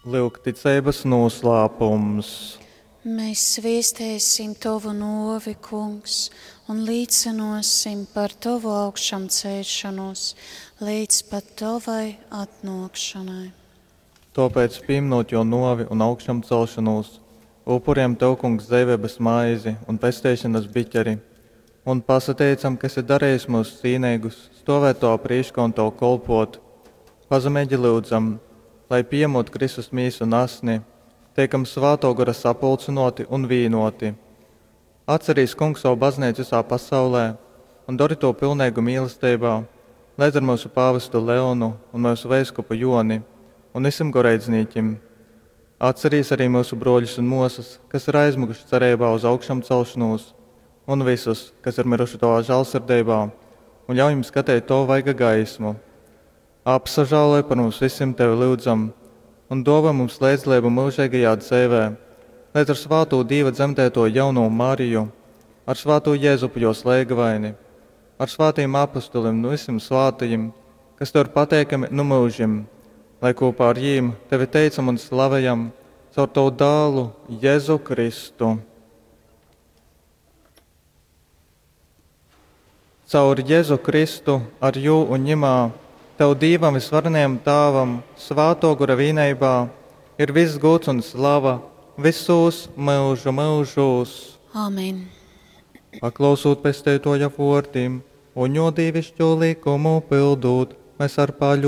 Lyuk ticeibas nūslāpums. Mēs sviestēsim Tovu nōvi, Kungs, un līcynōsim par Tovu augšamceļšonūs leidz pat Tovai atnōkšonai. Tōpēc, pīmynūt Jō nōvi un augšamcelšonūs, upurejam Tev, Kungs, dzeiveibas maizi un pesteišonas biķeri un pasateicam, ka esi darejis myus cīneigus stōvēt Tovā prīškā un Tev kolpōt. Pazemeigi lyudzam, lai, pījamūt Kristus mīsu un asni, teikam Svātō Gora sapulcynōti un vīnōti. Atcerīs, Kungs, savu bazneicu visā pasaulē un dori tū pilneigu mīlesteibā, leidz ar myusu pāvestu Leonu un myusu veiskupu Jōni un vysim goreidznīkim. Atcerīs arī myusu brōļus un mōsas, kas ir aizmyguši cereibā uz augšamcelšanūs, un vysus, kas ir myruši Tovā žālsirdeibā, un ļauj jim skateit Tovu vaiga gaismu. Apsažāloj par mums vysim Tevi lyudzam, un dōvoj mums leidzdaleibu myužeigajā dzeivē, leidz ar svātū Dīva dzemdēto jaunū Mariju, ar svātū Jezupu jos leigavaini, ar svātajim apustulim un vysim svātajim, kas Tev ir pateikami nu myužim, lai kopā ar jīm Tevi teicam un slavejam caur Tavu dālu Jēzu Kristu. Caur Jēzu Kristu, ar jū un ņemā, Tev Dīvam visvarenajam Tāvam, Svātō Gora vīneibā, ir viss gūds un slava visūs myužu myužūs. Amen. Paklausūt pesteitoja vōrdim un jō dīvišķū likumu pildūt, mēs ar paļu.